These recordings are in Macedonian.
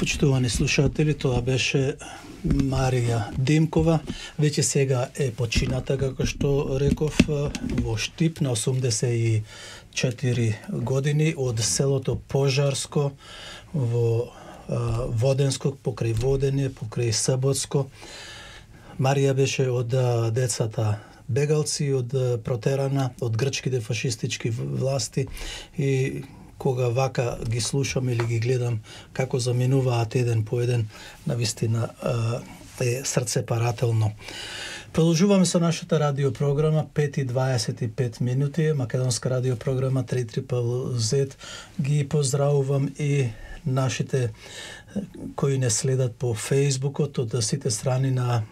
Почитувани слушатели, тоа беше Марија Димкова. Веќе сега е почината, како што реков, во Штип на 84 години од селото Пожарско во Воденско, покрај Водење, покрај Саботско. Марија беше од децата бегалци, од протерана од грчките фашистички власти и кога вака ги слушам или ги гледам како заминуваат еден по еден, навистина е срцепарателно. Продолжуваме со нашата радиопрограма, 5:25 минути, македонска радиопрограма 3ZZZ. Ги поздравувам и нашите кои не следат по Фејсбукот од сите страни на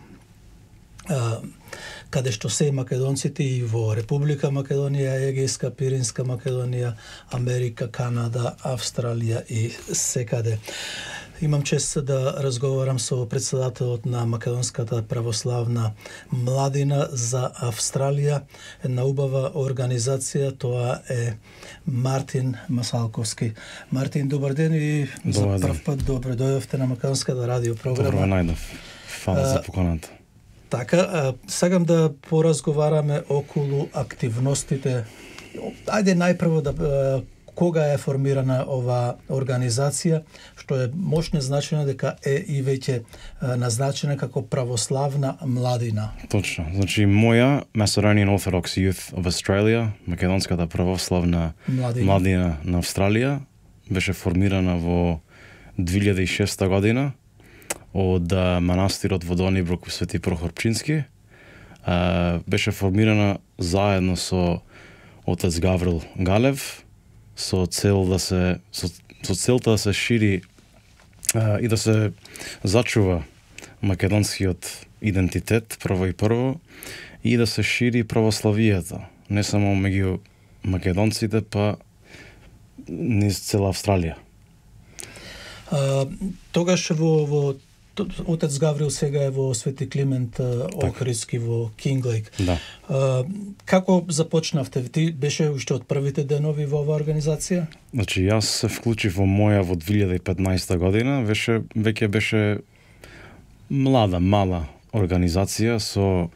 каде што се македонците и во Република Македонија, Егејска, Пиринска Македонија, Америка, Канада, Австралија и секаде. Имам чест да разговарам со председателот на Македонската православна младина за Австралија, една убава организација, тоа е Мартин Масалковски. Мартин, добар ден и за прв пат добре дојдовте на Македонската радиопрограма. Добро најдов. Фала за поканата. Така, сакам да поразговараме околу активностите. Ајде најпрво да кога е формирана ова организација, што е мощно значено дека е и веќе назначена како православна младина. Точно. Значи моја Macedonian Orthodox Youth of Australia, Македонската православна младина на Австралија, беше формирана во 2006 година од манастирот во Донибрук Свети Прохор Пчински. Беше формирана заедно со отец Гаврил Галев со целта да се шири и да се зачува македонскиот идентитет прво и да се шири православијата, не само меѓу македонците, па низ цела Австралија. Тогаш во отец Гаврил сега е во Свети Климент Охридски во Кинглейк. Да. Како започнавте? Ти беше уште од првите денови во оваа организација? Значи, јас се вклучив во моја во 2015 година, веќе беше мала организација со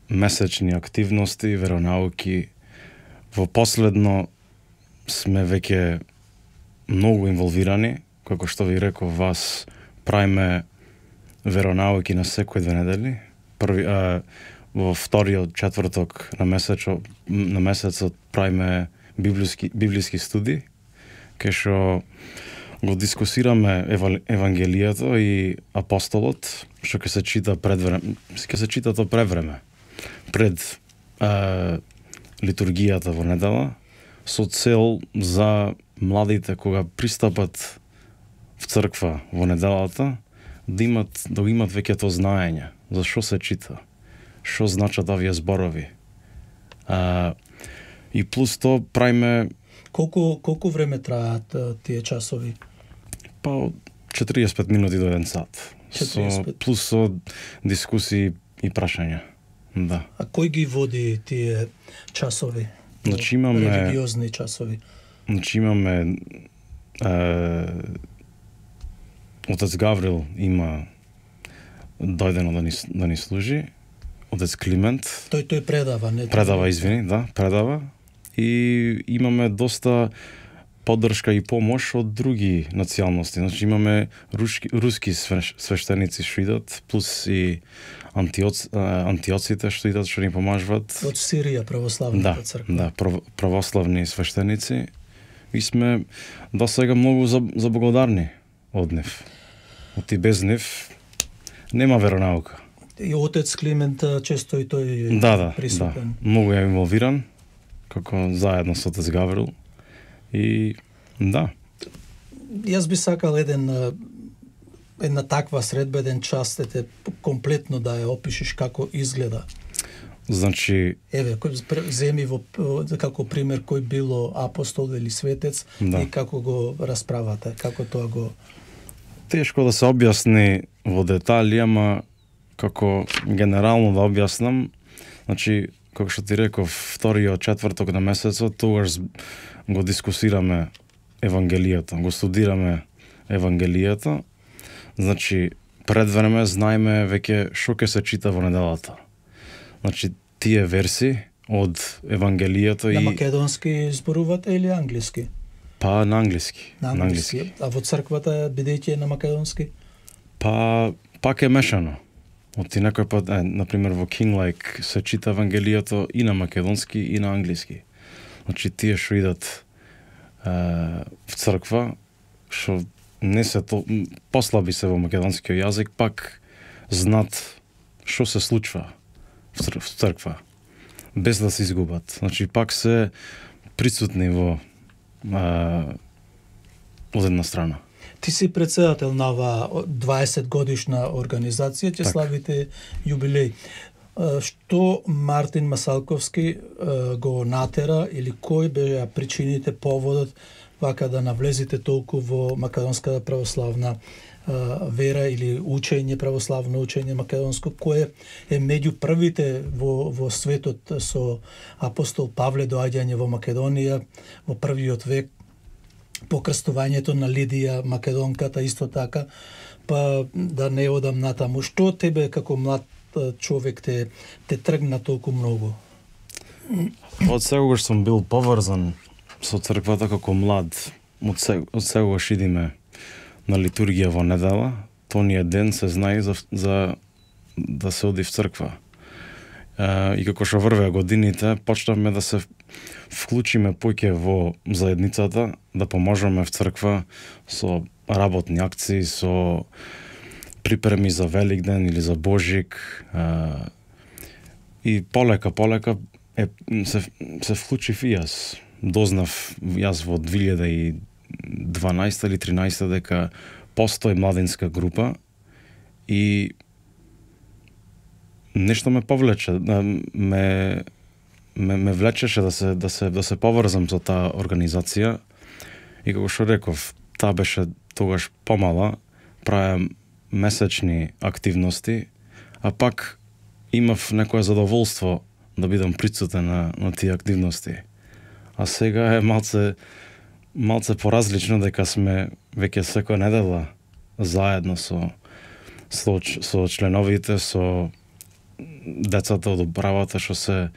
месечни активности, веронауки. Во последно сме веќе многу инволвирани, како што ви реков, вас правиме веронауки на секој 2 недели. Во вториот четврток на месецот правиме библиски студии, кај што го дискусираме Евангелието и апостолот, што ќе се чита то пред време, пред литургијата во недела, со цел за младите кога пристапат в црква во неделата, да имат веќе тоа знаење за што се чита, што значат овие зборови. И плюс тоа правиме... Колку време траат тие часови? Па 45 минути до 1 сат. 45. Плюс со дискусии и прашања. Да. А кој ги води тие часови? Значи имаме религиозни часови. Значи имаме отец Гаврил има дојдено да ни служи, отец Климент. Тој предава, не? Предава. И имаме доста поддршка и помош од други националности. Значи имаме руски свештеници што идат, плюс и антиоците што идат, што ни помажуваат. Од Сирија, православната црква. Да, православни свештеници. И сме до сега многу заблагодарни од нив. И без нив нема веронаука. И отец Климент често и тој присутен. Да. Многу е инволвиран, како заедно со отец Гаврил. И да. Јас би сакал една таква средба, еден час, комплетно да ја опишеш како изгледа. Значи... Еве, земи како пример кој било апостол или светец, да, и како го расправате, како тоа го... Тешко да се објасни во детали, ама како генерално да објаснам, значи, како што ти реков, вториот четврток на месецот, тогаш го дискусираме Евангелието, го студираме Евангелието Значи, пред време знаеме веќе што ќе се чита во неделата. Значи, тие верси од Евангелието на македонски зборувате или англиски? Па на англиски. На англиски. А во црквата бидејќи на македонски? Па пак е мешано. Оти некој пат, например во King Lake се чита Евангелието и на македонски и на англиски. Значи тие што идат в црква, што не се послаби се во македонскиот јазик, пак знат што се случува в црква, без да се изгубат. Значи пак се присутни во од една страна. Ти си председател на оваа 20 годишна организација, ќе славите јубилеј. Што Мартин Масалковски го натера или кој беа причините, поводот вака да навлезите толку во македонската православна вера или учење, православно учење македонско, кое е меѓу првите во светот со апостол Павле доаѓање во Македонија во првиот век, покрстувањето на Лидија Македонката исто така, па да не одам натаму. Што тебе како млад човек те тргна толку многу? Од секогаш сум бил поврзан со црквата како млад. Од секогаш идиме на литургија во недела. Тониот ден се знае за да се оди в црква. И како што врвеа годините, почнавме да се вклучиме поќе во заедницата, да поможеме в црква со работни акции, со припреми за Великден или за Божик. И полека се вклучив и јас. Дознав јас во 2012 или 13 дека постои младинска група и нешто ме повлече, ме влечеше да се поврзам со таа организација. И како што реков, таа беше тогаш помала, правам месечни активности, а пак имав некое задоволство да бидам присутен на тие активности. А сега е малце поразлично дека сме веќе секоја недела заедно со членовите, со децата од управата што се,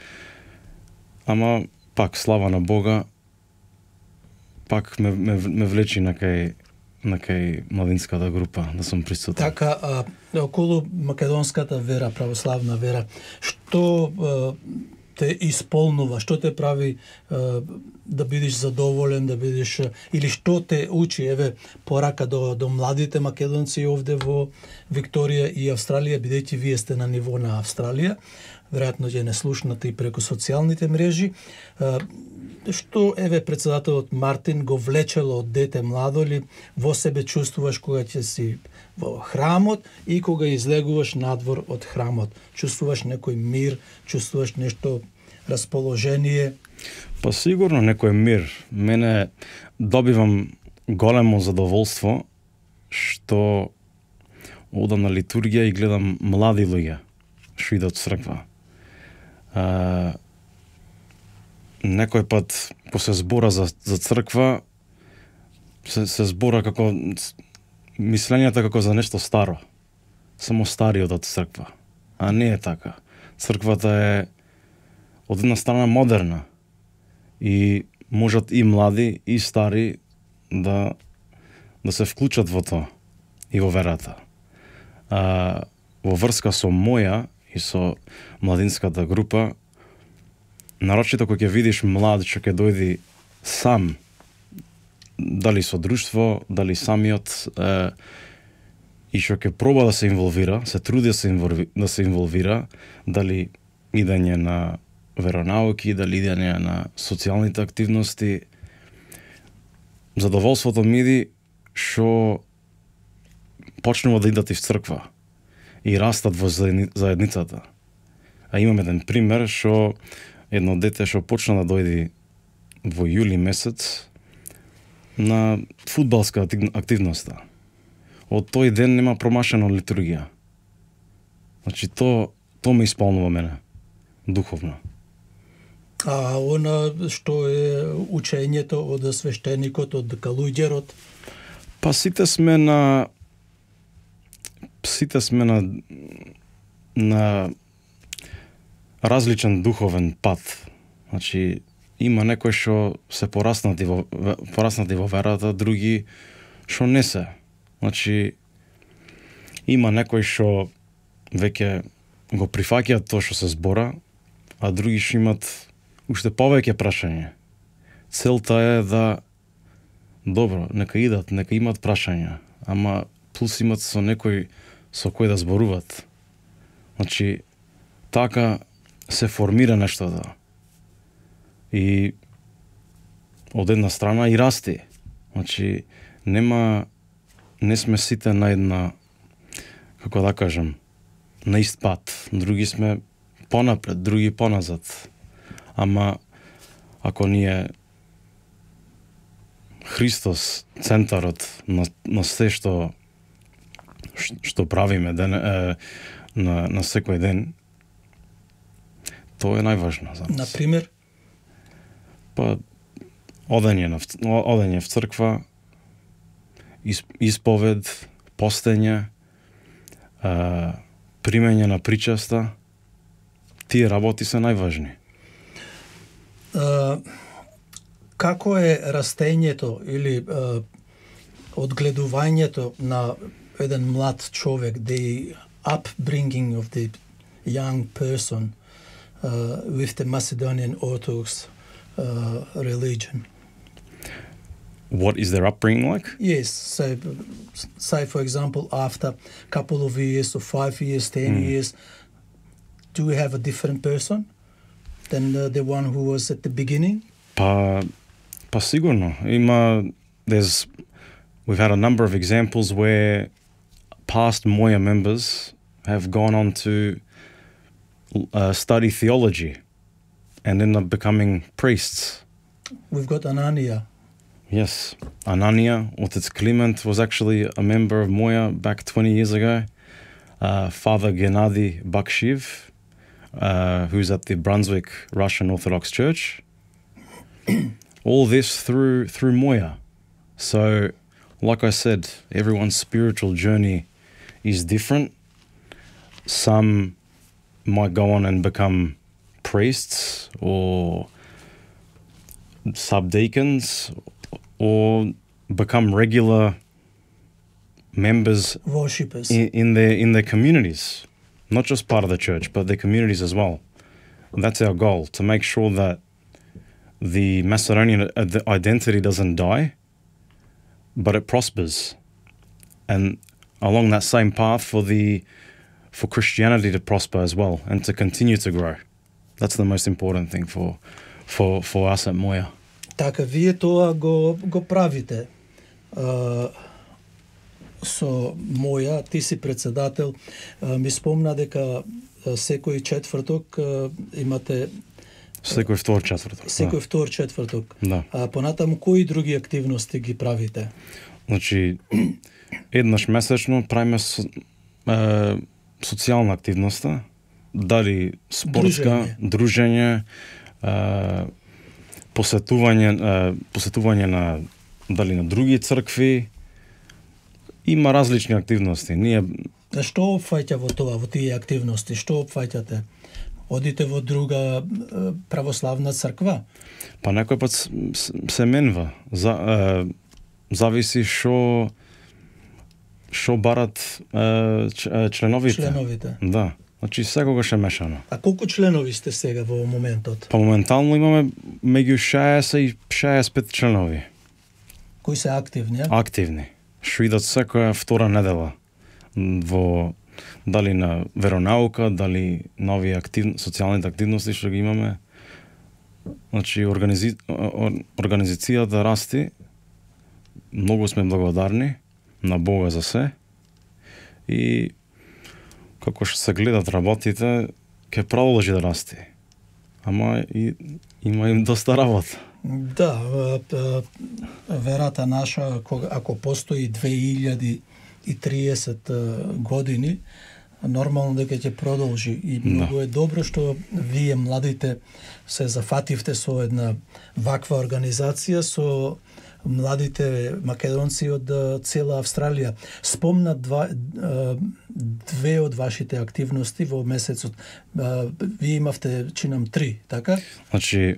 ама пак слава на Бога, пак ме влечи на кај младинската група да сум присутен. Така, околу македонската вера, православна вера, што те исполнува, што те прави да бидеш задоволен, да бидеш, или што те учи, еве, порака до младите македонци овде во Викторија и Австралија, бидејќи вие сте на ниво на Австралија, веројатно ќе не слушнате и преку социјалните мрежи. Што, еве, председателот Мартин го влечело од дете младо ли, во себе чувствуваш кога ќе си во храмот и кога излегуваш надвор од храмот? Чувствуваш некој мир, чувствуваш нешто расположение? Па сигурно некој мир. Мене добивам големо задоволство што одам на литургија и гледам млади луѓе што идат во црква. Некој пат, кога се збора за црква, се збора како мислењата како за нешто старо. Само стариот од црква. А не е така. Црквата е од една страна модерна и можат и млади и стари да се вклучат во тоа и во верата. Во врска со моја и со младинската група, нарочито кога ќе видиш млад што ќе дојди сам, дали со друштво, дали самиот, и што ќе проба да се инволвира, се труди да се инволвира, дали идење на веронауки, дали идење на социјалните активности, задоволството ми иди што почнува да идат и в црква и растат во заедницата. А имам еден пример што едно дете што почна да дојди во јули месец на фудбалска активноста. Од тој ден нема промашена литургија. Значи, то ме исполнува мене, духовно. А она што е учењето од свештеникот, од калуѓерот? Па сите сме на сите сме на различен духовен пат. Значи, има некои што се пораснати во верата, други што не се. Значи, има некои што веќе го прифаќаат тоа што се збора, а други што имат уште повеќе прашања. Целта е да добро, нека идат, нека имат прашања, ама плюс имат со некој со кој да зборуват. Значи, така се формира нештото. И од една страна и расти. Значи, не сме сите на една, како да кажам, на ист пат. Други сме понапред, други поназад. Ама, ако ние Христос центарот на се што правиме на секој ден, тоа е најважно за нас. Например? Па, одење в црква, исповед, постење, примење на причеста, тие работи се најважни. Како е растењето или одгледувањето на еден млад човек, the upbringing of the young person with the Macedonian Orthodox religion? What is their upbringing like? Yes, so say for example after a couple of years or 5 years, 10 years, do we have a different person than the one who was at the beginning? Па сигурно. We've had a number of examples where past Moja members have gone on to study theology and end up becoming priests. We've got Anania. Yes, Anania, Otec Kliment was actually a member of Moja back 20 years ago. Father Gennady Bakshiv, who's at the Brunswick Russian Orthodox Church. All this through Moja. So, like I said, everyone's spiritual journey is different. Some might go on and become priests or subdeacons or become regular members, worshippers in their communities, not just part of the church, but their communities as well. And that's our goal, to make sure that the Macedonian identity doesn't die, but it prospers. And along that same path for Christianity to prosper as well and to continue to grow. That's the most important thing for us at Moja. Така, вие тоа го правите. Со Моја, ти си председател, ми спомна дека секој четврток имате... Секој втор четврток. Секој втор четврток. Да. Понатаму, кои други активности ги правите? Значи, еднаш месечно правиме социјална активноста, дали спортска, дружење, посетување на дали на други цркви. Има различни активности. Што опфаќа во тоа, во тие активности? Што опфаќате? Одите во друга православна црква? Па некој пат се менва. Зависи што барат членовите. Да. Значи секогаш е мешано. А колку членови сте сега во моментот? Па моментално имаме меѓу 60 и 65 членови. Кои се активни? Активни. Што идат секоја втора недела во дали на веронаука, дали нови социјалните активности што ги имаме. Значи организацијата расти. Многу сме благодарни на Бога за се. И како што се гледат работите, ќе продолжи да расти. Ама има им доста работа. Да, верата наша, ако постои 2030 години, нормално дека ќе продолжи. И многу е добро што вие, младите, се зафативте со една ваква организација, со младите македонци од цела Австралија. Спомна две од вашите активности во месецот. Вие имавте, чинам, 3, така? Значи,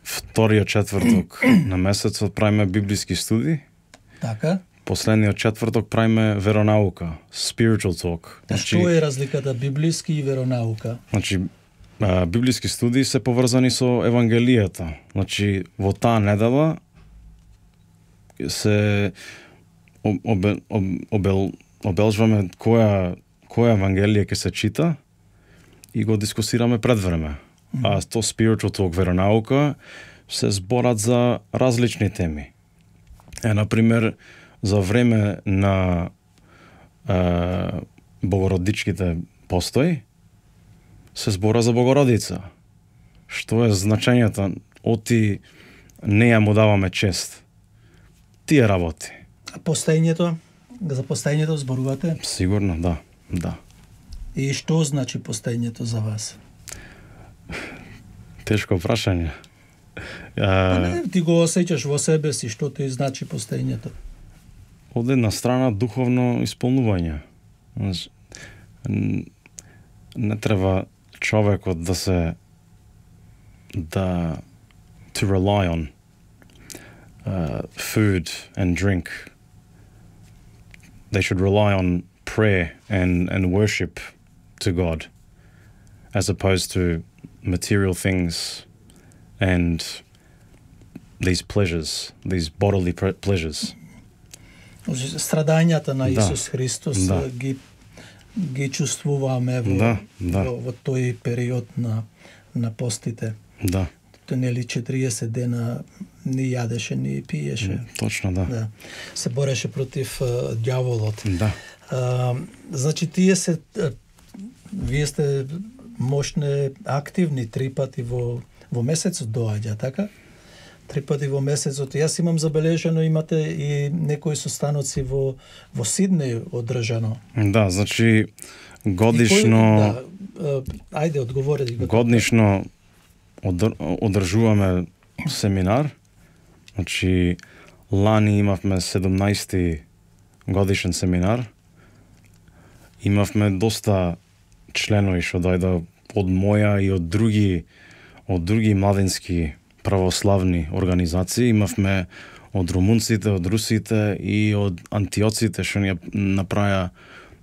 вториот четврток на месецот правиме библиски студии. Така. Последниот четврток правиме веронаука, spiritual talk. Значи, што е разликата библиски и веронаука? Значи, библиски студии се поврзани со евангелијата. Значи, во таа недела се обелжваме која евангелие ќе се чита и го дискусираме пред време. А то spiritual talk, веронаука, се зборат за различни теми. Например, за време на богородичките постои, се збора за Богородица. Што е значењето? Оти неја му даваме чест. Тие работи. А постоењето? За постоењето зборувате? Сигурно, да. И што значи постоењето за вас? Тешко прашање. Ти го осеќаш во себе си, што ти значи постоењето? Од една страна духовно исполнување. Не треба човекот to rely on food and drink. They should rely on prayer and worship to God, as opposed to material things and these pleasures, these bodily pleasures. Страдањата на Исус Христос ги чувствуваме во тој период на постите. Да. Тоа нели 40 дена ни јадеше, ни пиеше. Точно, да. Се бореше против ѓаволот. Да. Значи вие сте мощни, активни 3 пати во месецот доаѓа, така? 3 пати во месецот. Јас имам забележано, имате и некои состаноци во Сиднеј одржано. Да, значи годишно... Ајде, одговори. Годишно одржуваме семинар. Значи, лани имавме 17-ти годишен семинар. Имавме доста членови што дојде од моја и од други младински православни организации. Имавме од румунците, од русите и од антиоците што ни направија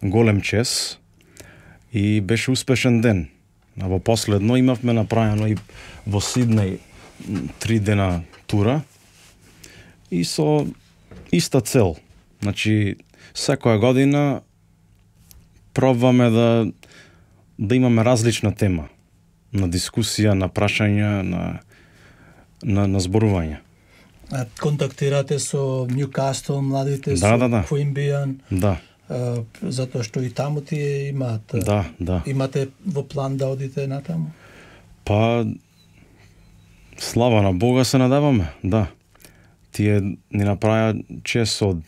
голем чест и беше успешен ден. А во последно имавме направено и во Сиднеј 3 дена тура и со иста цел. Значи, секоја година пробваме да имаме различна тема на дискусија, на прашања, на зборување. Контактирате со Ньюкасл, младите, со Queanbeyan? Да. Затоа што и таму тие имаат. Да. Имате во план да одите натаму? Па, слава на Бога се надеваме, да. Тие ни направија чест од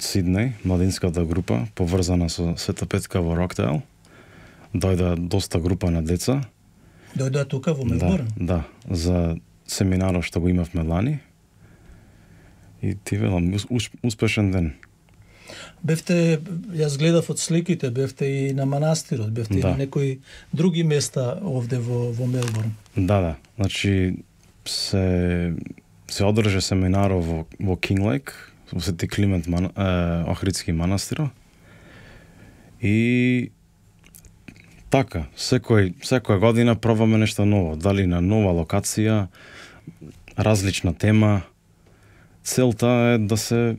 Сиднеј, младинската група, поврзана со Света Петка во Роктейл. Дојде доста група на деца. Дојде тука во Мелбурн? Да, за семинарот што го имавме лани. И ти велам, успешен ден. Бевте, јас гледав од сликите, бевте и на манастирот, бевте и на некои други места овде во Мелбурн. Да. Значи, се одржа семинарот во Кинглейк, во Свети Климент Охридски манастиро. И така, секоја година пробваме нешто ново, дали на нова локација, различна тема. Целта е да се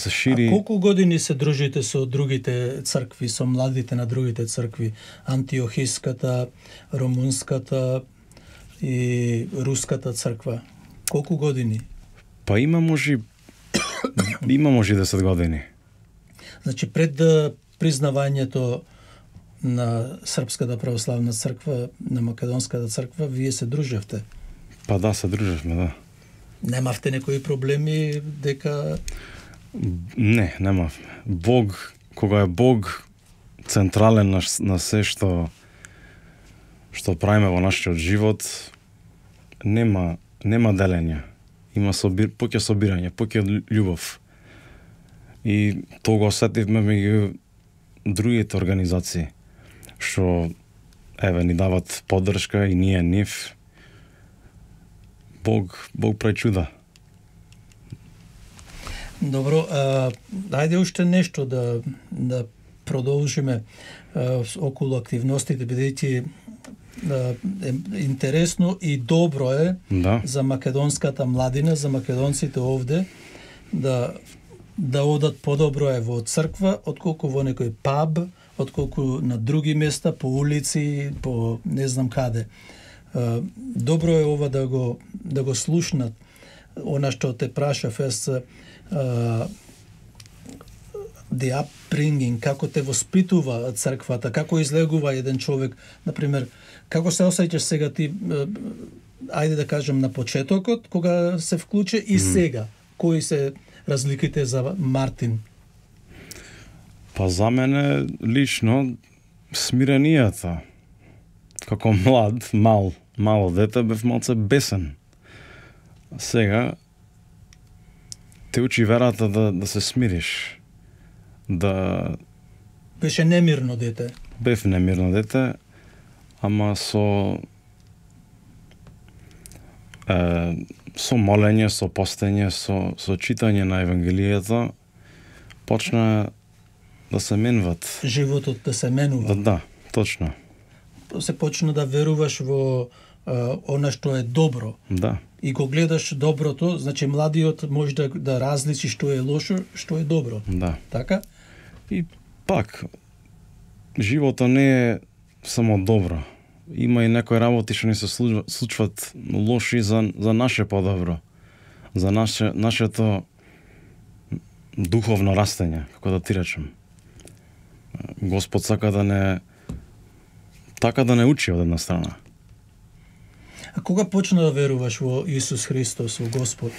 шири. А колку години се дружите со другите цркви, со младите на другите цркви? Антиохиската, румунската и руската црква. Колку години? Па има може 10 години. Значи пред признавањето на Српската православна црква, на Македонската црква, вие се дружевте? Па да, се дружевме, да. Немавте некои проблеми дека... Не, немавме. Бог, кога е Бог централен на се што правиме во нашиот живот, нема делење. Има поќе собирање, поќе љубов. И тоа го осетивме меѓу другите организации што ни дават поддршка и ние нив. Бог прави чуда. Добро, ајде уште нешто да продолжиме околу активностите, бидејќи интересно и добро е за македонската младина, за македонците овде да одат подобро е во црква, отколку во некој паб, отколку на други места, по улици, по не знам каде. Добро е ова да го слушнат. Она што те прашав the upbringing, како те воспитува црквата, како излегува еден човек, например, како се осеќаш сега ти, ајде да кажем на почетокот, кога се вклучи и сега, кои се разликите за Мартин? Па за мене лично смиренијата. Како мало дете бев малце бесен. Сега те учи верата да се смириш. Беше немирно дете. Бев немирно дете, ама со молење, со постење, со читање на Евангелието, почна да се менуват. Животот да се менува. Да, точно. Се почна да веруваш во она што е добро. Да. И го гледаш доброто, значи младиот може да различи што е лошо, што е добро. Да. Така? И пак, животот не е само добро. Има и некои работи што ни се случват лоши за наше подобро. За нашето духовно растење, како да ти речем. Господ сака да не учи од една страна. А кога почна да веруваш во Исус Христос, во Господ?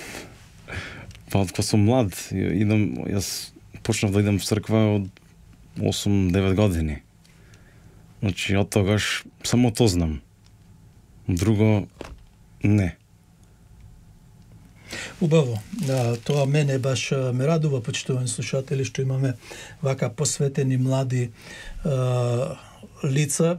Па кога сум млад, јас почнав да идам в црква од 8-9 години. Значи, од тогаш само то знам. Друго не. Убаво. Тоа мене баш ме радува, почитувани слушатели, што имаме вака посветени млади лица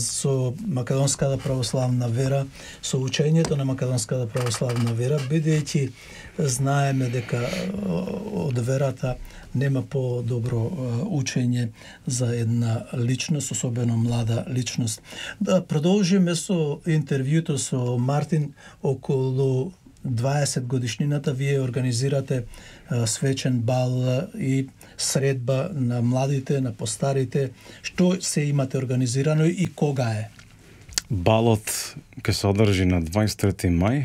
со македонската православна вера, со учењето на македонската православна вера, бидејќи знаеме дека од верата нема по-добро учење за една личност, особено млада личност. Да продолжиме со интервјуто со Мартин околу 20 годишнината. Вие организирате свечен бал и средба на младите, на постарите. Што се имате организирано и кога е? Балот ќе се одржи на 23 мај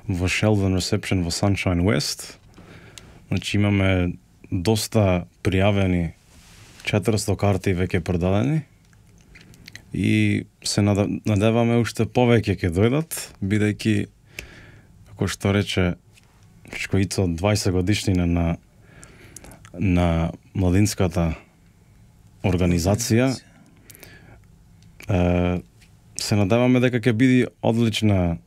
во Sheldon Reception во Sunshine West. Значи имаме доста пријавени, 400 карти веќе продадени и се надеваме уште повеќе ќе дојдат, бидејќи како што рече Чкоицо, 20 годишнина на младинската организација. Се надеваме дека ќе биде одлична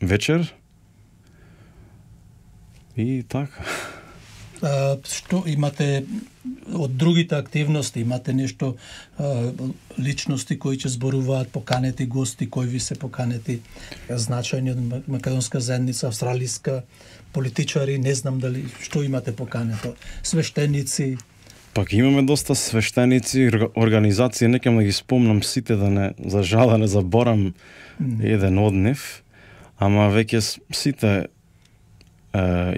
вечер. И така. Што имате од другите активности? Имате нешто, личности кои ќе зборуваат, поканети гости, кои ви се поканети, значајни од македонска заедница, австралиска, политичари, не знам дали, што имате покането? Свештеници? Пак имаме доста свештеници, организации, не ќе да ги спомнам сите, за жал да не заборам еден од нив, ама веќе сите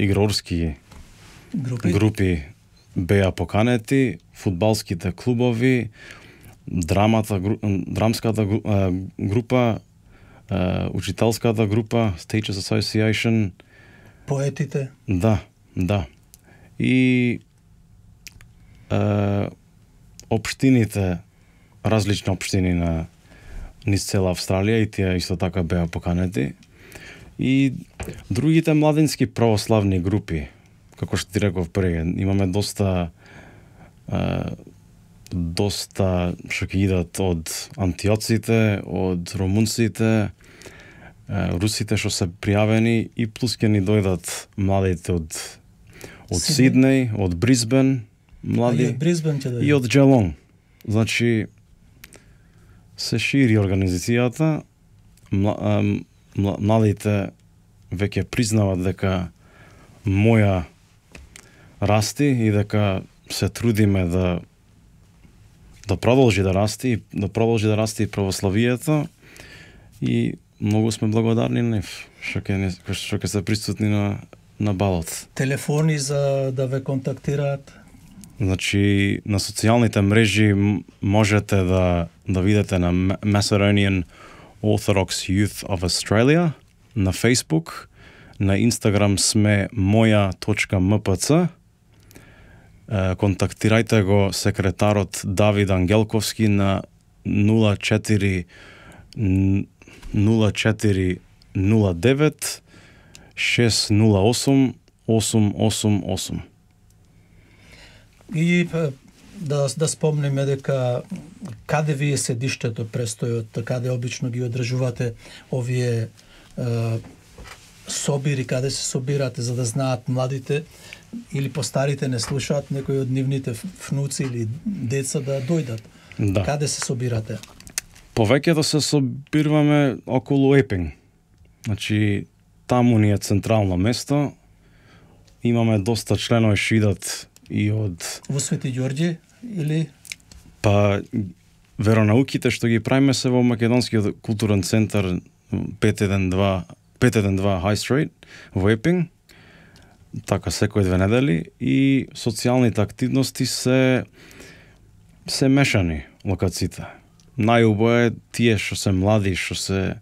игрорски групи беа поканети, фудбалските клубови, драмската група, учителската група, Teachers Association, поетите. Да. И општините, различни општини на низ цела Австралија, и тие исто така беа поканети. И другите младински православни групи, како што ти реков пред, имаме доста што ќе идат од антиоците, од румунците, русите што се пријавени, и плюс ќе ни дојдат младите од Сиднеј, од Брисбен, млади и од Брисбен ќе и од Geelong. Значи се шири организацијата, младите веќе признаваат дека моја расти и дека се трудиме да продолжи да расти и православието, и многу сме благодарни на нив што ќе се присутни на балот. Телефони за да ве контактираат? Значи, на социјалните мрежи можете да видите на Macedonian Orthodox Youth of Australia, на Facebook, на Instagram сме moja.mpc. Контактирајте го секретарот Давид Ангелковски на 0409 608 888. И да спомниме дека каде ви е седиштето, престојот, каде обично ги одржувате овие собири, каде се собирате, за да знаат младите или постарите не слушаат, некои од нивните внуци или деца да дојдат. Да. Каде се собирате? Повеќето се собираме околу Епинг. Значи, таму ни е централно место. Имаме доста членови што идат и од... Во Свети Ѓорѓи или? Па, веронауките што ги правиме се во Македонскиот културен центар 512 High Street во Епинг, така секој 2 недели, и социјалните активности се мешани локациите. Најубаво е тие што се млади, што се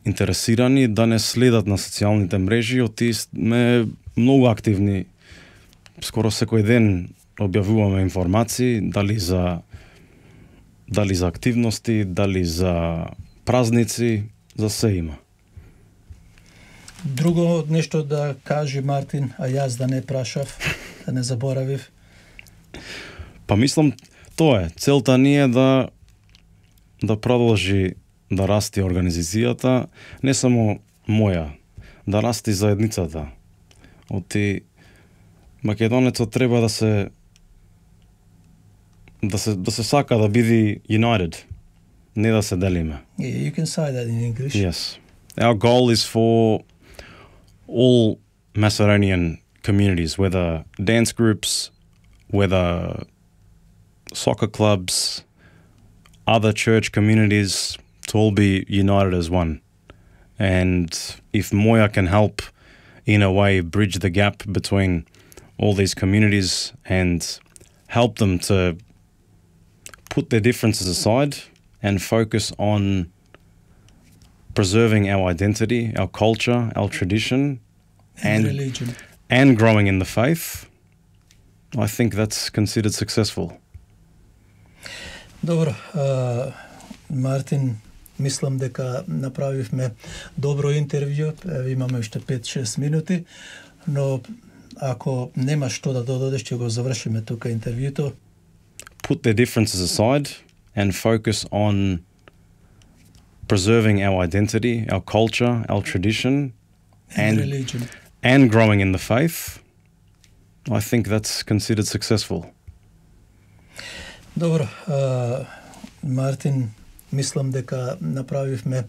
интересирани, да не следат на социјалните мрежи, оти сме многу активни. Скоро секој ден објавуваме информации, дали за активности, дали за празници, за се има. Друго нешто да кажи Мартин, а јас да не прашав, да не заборавив? Па мислам, тоа е. Целта ни е да продолжи да расти организацијата, не само моја, да расти заедницата. Оти македонецот треба да се сака да биде united, не да се делиме. Yeah, you can say that in English. Yes. Our goal is for all Macedonian communities, whether dance groups, whether soccer clubs, other church communities, to all be united as one. And if Moja can help in a way bridge the gap between all these communities and help them to put their differences aside and focus on preserving our identity, our culture, our tradition, and religion, and growing in the faith, I think that's considered successful. Добро, Мартин, мислам дека направивме добро интервју, имаме уште 5-6 минути, но ако нема што да додадеш, ќе го завршиме тука интервјуто. Put their differences aside and focus on preserving our identity, our culture, our tradition, and religion, and growing in the faith. I think that's considered successful. Добро, Мартин, мислам дека направивме